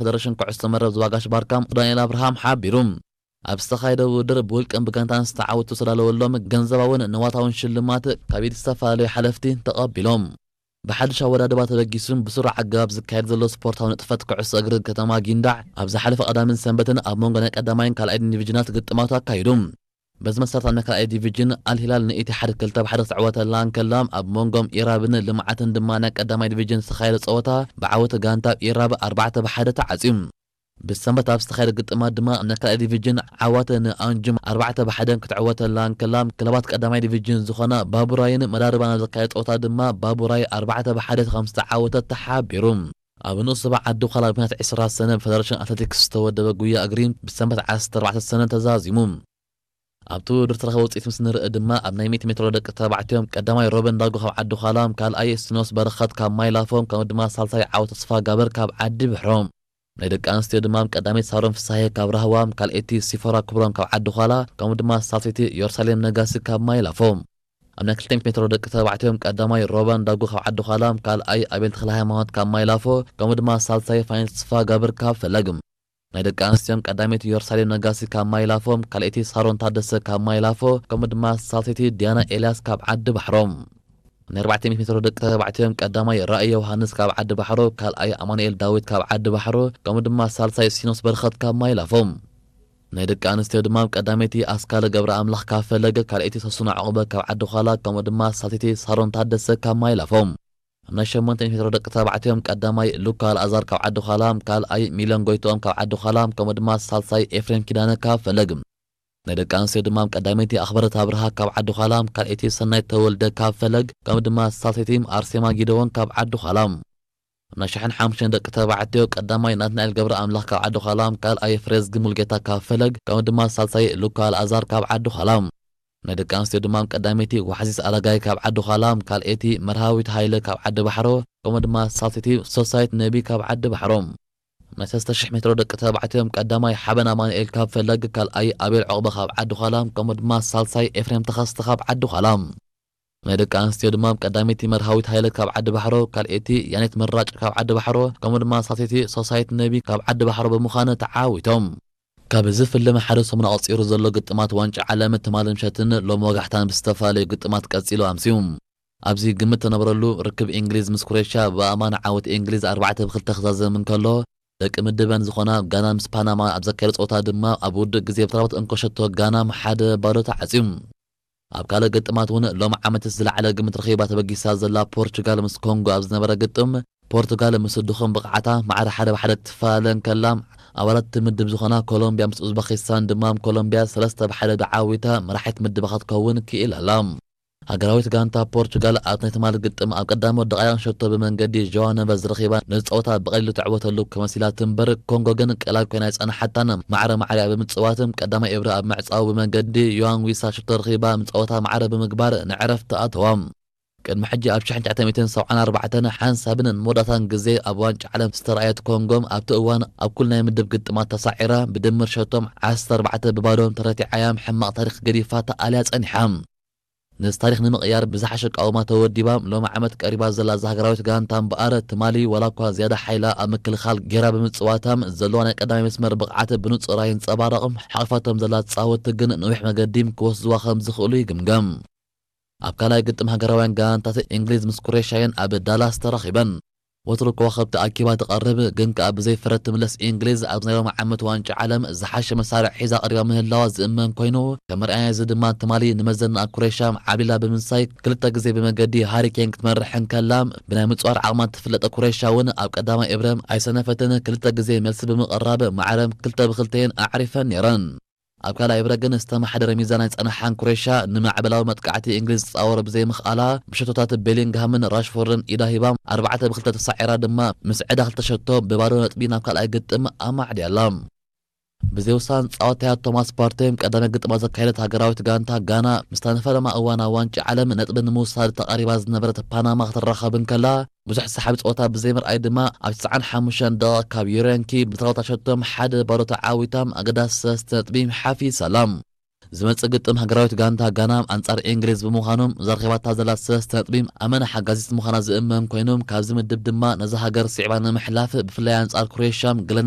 ፈደረሽን ኩዕሶ መረብ ዝዋጋሽ ባርካ ዳንኤል ኣብርሃም ሓቢሩ። ኣብ ዝተኻየደ ውድድር ብውልቅን ብጋንታን ዝተዓወቱ ዝተዳለወሎም ገንዘባውን ንዋታውን ሽልማት ካብ ኢድ ዝተፈላለዩ ሓለፍቲ ተቐቢሎም። ብሓድሽ ኣወዳድባ ተበጊሱ ብስሩዕ ኣገባብ ዝካየድ ዘሎ ስፖርታዊ ንጥፈት ኩዕሶ እግሪ ከተማ ጊንዳዕ ኣብ ዝሓለፈ ቀዳምን ሰንበትን ኣብ መንጎ ናይ ቀዳማይን ካልኣይን ዲቪዥናት ግጥማት ኣካይዱ። በዚ መሰረት ኣብ ናይ ካልኣይ ዲቪዥን ኣልሂላል ንኢትሓድ ክልተ ብሓደ ክትዕወተላ እንከላ፣ ኣብ መንጎም ኢራብን ልምዓትን ድማ ናይ ቀዳማይ ዲቪዥን ዝተኻየደ ፀወታ ብዓወት ጋንታ ኢራብ ኣርባዕተ ብሓደ ተዓፅዩ። ብሰንበት ኣብ ዝተኻየደ ግጥማት ድማ ናይ ካልኣይ ዲቪዥን ዓዋተ ንኣንጁም ኣርባዕተ ብሓደ ክትዕወተላ እንከላ፣ ክለባት ቀዳማይ ዲቪዥን ዝኾና ባቡራይን መዳርባን ኣብ ዘካየደ ፀወታ ድማ ባቡራይ ኣርባዕተ ብሓደ ከም ዝተዓወተት ተሓቢሩ። ኣብ ንኡስ ዞባ ዓዲ ዃላ ብናት ዕስራ ሰነ ብፈደረሽን ኣትሌቲክስ ዝተወደበ ጉያ እግሪ ብሰንበት ዓሰርተ ኣርባዕተ ሰነ ተዛዚሙ። ኣብቲ ውድድር ተረኸበ ውፅኢት ምስ ንርኢ ድማ ኣብ ናይ ሚእቲ ሜትሮ ደቂ ተባዕትዮም ቀዳማይ ሮበን ዳጉ ካብ ዓዲ ዃላ፣ ካልኣይ ስኖስ በረኸት ካብ ማይላፎ፣ ከምኡ ድማ ሳልሳይ ዓወት ተስፋ ጋበር ካብ ዓዲ ብሕሮ። ናይ ደቂ ኣንስትዮ ድማ ቀዳመይቲ ሳሮን ፍሳሄ ካብ ራህዋ፣ ካልኣይቲ ሲፎራ ክብሮም ካብ ዓዲ ዃላ፣ ከምኡ ድማ ሳልሰይቲ ዮርሳሌም ነጋሲ ካብ ማይላፎ። ኣብ ናይ ክልተ ሚእቲ ሜትሮ ደቂ ተባዕትዮም ቀዳማይ ሮባን ዳጉ ካብ ዓዲ ዃላ፣ ካልኣይ ኣቤል ተኽለ ሃይማኖት ካብ ማይላፎ፣ ከምኡ ድማ ሳልሳይ ፋይን ተስፋ ጋብር ካብ ፈለግ። ናይ ደቂ ኣንስትዮን ቀዳመይቲ ዮርሳሌም ነጋሲ ካብ ማይላፎ፣ ካልኣይቲ ሳሮን ታደሰ ካብ ማይላፎ፣ ከምኡ ድማ ሳልሰይቲ ዲያና ኤልያስ ካብ ዓዲ ባሕሮ። ናይ ኣርባዕተ ሚእቲ ሜትሮ ደቂ ተባዕትዮም ቀዳማይ ራእይ ዮሃንስ ካብ ዓዲ ባሕሮ፣ ካልኣይ ኣማኑኤል ዳዊት ካብ ዓዲ ባሕሮ፣ ከምኡ ድማ ሳልሳይ ሲኖስ በርኸት ካብ ማይላፎ። ናይ ደቂ ኣንስትዮ ድማ ቀዳመይቲ ኣስካለ ገብረ ኣምላኽ ካብ ፈለገ፣ ካልኣይቲ ሰሱና ዕቑበ ካብ ዓዲ ዃላ፣ ከምኡ ድማ ሳልሰይቲ ሳሮን ታደሰ ካብ ማይላፎ። ኣብ ናይ ሸሞንተ ሚእቲ ሜትሮ ደቂ ተባዕትዮም ቀዳማይ ሉካ ኣልኣዛር ካብ ዓዲ ዃላ፣ ካልኣይ ሚለን ጎይትኦም ካብ ዓዲ ዃላ፣ ከምኡ ድማ ሳልሳይ ኤፍሬም ኪዳነ ካብ ፈለግ። ናይ ደቂ ኣንስትዮ ድማ ቀዳመይቲ ኣኽበረት ኣብርሃ ካብ ዓዲ ዃላ፣ ካልኣይቲ ሰናይት ተወልደ ካብ ፈለግ፣ ከምኡ ድማ ሳልሰይቲ ኣርሴማ ጊደዎን ካብ ዓዲ ዃላ። ናይ ሸሕን ሓሙሽተን ደቂ ተባዕትዮ ቀዳማይ ናትናኤል ገብረ ኣምላኽ ካብ ዓዲ ዃላ፣ ካልኣይ ፍሬዝጊ ሙልጌታ ካብ ፈለግ፣ ከምኡ ድማ ሳልሳይ ሉካ ኣልኣዛር ካብ ዓዲ ዃላ። ናይ ደቂ ኣንስትዮ ድማ ቀዳመይቲ ዋሕዚት ኣረጋይ ካብ ዓዲ ዃላ፣ ካልኣይቲ መርሃዊት ሃይለ ካብ ዓዲ ባሕሮ፣ ከምኡ ድማ ሳልሰይቲ ሶሳይት ነቢ ካብ ዓዲ ባሕሮ። ናይ ሰለስተ ሽሕ ሜትሮ ደቂ ተባዕትዮም ቀዳማይ ሓበን ኣማኑኤል ካብ ፈለግ፣ ካልኣይ ኣቤል ዕቑበ ካብ ዓዲ ዃላ፣ ከምኡ ድማ ሳልሳይ ኤፍሬም ተኸስተ ካብ ዓዲ ዃላ። ናይ ደቂ ኣንስትዮ ድማ ቀዳመይቲ መርሃዊት ሃይለ ካብ ዓዲ ባሕሮ፣ ካልኣይቲ ያኔት መራጭ ካብ ዓዲ ባሕሮ፣ ከምኡ ድማ ሳልሰይቲ ሶሳይት ነቢ ካብ ዓዲ ባሕሮ ብምዃን ተዓዊቶም። ካብ ዝፍለመ ሓደ ሰሙን ኣቑጺሩ ዘሎ ግጥማት ዋንጫ ዓለም ትማሊ ምሸትን ሎም ወጋሕታን ብዝተፈላለዩ ግጥማት ቀጺሉ ኣምስዩ። ኣብዚ ግምት ተነበረሉ ርክብ እንግሊዝ ምስ ኩሬሽያ ብኣማን ዓወት እንግሊዝ ኣርባዕተ ብክልተ ክዛዘም እንከሎ፣ ደቂ ምድበን ዝኾና ጋና ምስ ፓናማ ኣብ ዘካየደ ጸወታ ድማ ኣብ ውድእ ግዜ ብተራቦት እንኮ ሸቶ ጋና ሓደ ባዶ ተዓጽዩ። ኣብ ካልእ ግጥማት እውን ሎም ዓመት ዝለዓለ ግምት ረኺባ ተበጊሳ ዘላ ፖርቹጋል ምስ ኮንጎ ኣብ ዝነበረ ግጥም፣ ፖርቱጋል ምስ ድኹም ብቕዓታ ማዕረ ሓደ ብሓደ ክትፈላለ እንከላ፣ ኣባላት እቲ ምድብ ዝኾና ኮሎምቢያ ምስ ኡዝበኪስታን ድማ ኮሎምቢያ ሰለስተ ብሓደ ተዓዊታ መራሒት ምድባ ክትከውን ክኢላ ኣላ። ሃገራዊት ጋንታ ፖርቹጋል ኣብ ናይ ትማሊ ግጥም ኣብ ቀዳሞት ደቓይቕ ሸቶ ብመንገዲ ጆዋ ነቨዝ ረኺባ ነዚ ጸወታ ብቐሊሉ ትዕወተሉ ከመሲላ ትንበር፣ ኮንጎ ግን ቀላል ኮይና ኣይጸንሓታን። ማዕረ ማዕሪኣ ብምጽዋት ቀዳማይ እብሪ ኣብ ምዕጻው ብመንገዲ ዮዋን ዊሳ ሸቶ ረኺባ ጸወታ ማዕረ ብምግባር ንዕረፍቲ ኣተዋ። ቅድሚ ሕጂ ኣብ ሽሕን ትሽዓተ ሚእትን ሰብዓን ኣርባዕተን ሓንሳብን መወዳእታን ግዜ ኣብ ዋንጫ ዓለም ዝተረኣየት ኮንጎ፣ ኣብቲ እዋን ኣብ ኩሉ ናይ ምድብ ግጥማት ተሳዒራ ብድምር ሸቶም ዓሰርተ ኣርባዕተ ብባዶ ተረቲዓያ ሕማቕ ታሪኽ ገዲፋ ተኣልያ ጸኒሓ። ነዚ ታሪኽ ንምቕያር ብዝሓሸ ኣቃውማ ተወዲባ፣ ሎም ዓመት ቀሪባ ዘላ እዛ ሃገራዊት ጋንታ እምበኣር፣ ትማሊ ዋላ እኳ ዝያዳ ሓይላ ኣብ ምክልኻል ጌራ ብምጽዋታ፣ ዘለዋ ናይ ቀዳማይ መስመር ብቕዓት ብንጹር ኣይንጸባረቕ። ሓቒፋቶም ዘላ ተጻወትቲ ግን ነዊሕ መገዲ ክወስዝዋ ከም ዝኽእሉ ይግምገም። ኣብ ካልኣይ ግጥም ሃገራውያን ጋንታት እንግሊዝ ምስ ኩሬሽያን ኣብ ዳላስ ተራኺበን። ወትሩ ከዋኸብቲ ኣኪባ ትቐርብ፣ ግን ከኣ ብዘይ ፍረ ትምለስ እንግሊዝ ኣብዚ ናይ ሎሚ ዓመት ዋንጫ ዓለም ዝሓሸ መሳርዕ ሒዛ ቀሪባ ምህላዋ ዝእመን ኮይኑ፣ ከም መርኣያ እዚ ድማ ትማሊ ንመዘና ኩሬሽያ ዓብሊላ ብምንሳይ ክልተ ግዜ ብመገዲ ሃሪ ኬን ክትመርሕ እንከላ፣ ብናይ ምጽዋር ዓቕማ ትፍለጠ ኩሬሽያ እውን ኣብ ቀዳማይ እብረ ኣይሰነፈትን፣ ክልተ ግዜ መልሲ ብምቕራብ ማዕረ ክልተ ብክልተየን ኣዕሪፈን ነይረን። ኣብ ካልኣይ እብረ ግን ዝተመሓደረ ሚዛን ኣይጸንሓን። ኩሬሽያ ንማዕበላዊ መጥቃዕቲ እንግሊዝ ትጻወሮ ብዘይምኽኣላ፣ ብሸቶታት ቤሊንግሃምን ራሽፎርድን ኢዳ ሂባ ኣርባዕተ ብክልተ ተሳዒራ ድማ ምስ ዕዳ ክልተ ሸቶ ብባዶ ነጥቢ ናብ ካልኣይ ግጥም ኣማዕድያ ኣላ። ብዘይ ውሳን ጻወታያ ቶማስ ፓርቴ ቀዳማይ ግጥማ ዘካየደት ሃገራዊት ጋንታ ጋና፣ ምስታ ንፈለማ እዋን ኣብ ዋንጫ ዓለም ነጥቢ ንምውሳድ ተቓሪባ ዝነበረት ፓናማ ክትራኸብ እንከላ፣ ብዙሕ ሰሓቢ ጸወታ ብዘይምርኣይ ድማ ኣብ ትስዓን ሓሙሽተን ደቂቕ ካብ ዩሬንኪ ብተራውታ ሸቶም ሓደ ባዶ ተዓዊታ ኣገዳሲ ሰለስተ ነጥቢ ሓፊሳ ኣላ። ዝመጽእ ግጥም ሃገራዊት ጋንታ ጋና ኣንጻር እንግሊዝ ብምዃኑ፣ እዛ ረኺባታ ዘላ ሰለስተ ነጥቢ ኣመና ሓጋዚት ምዃና ዝእመን ኮይኑ፣ ካብዚ ምድብ ድማ ነዛ ሃገር ስዒባ ንምሕላፍ ብፍላይ ኣንጻር ክሮኤሽያ ገለ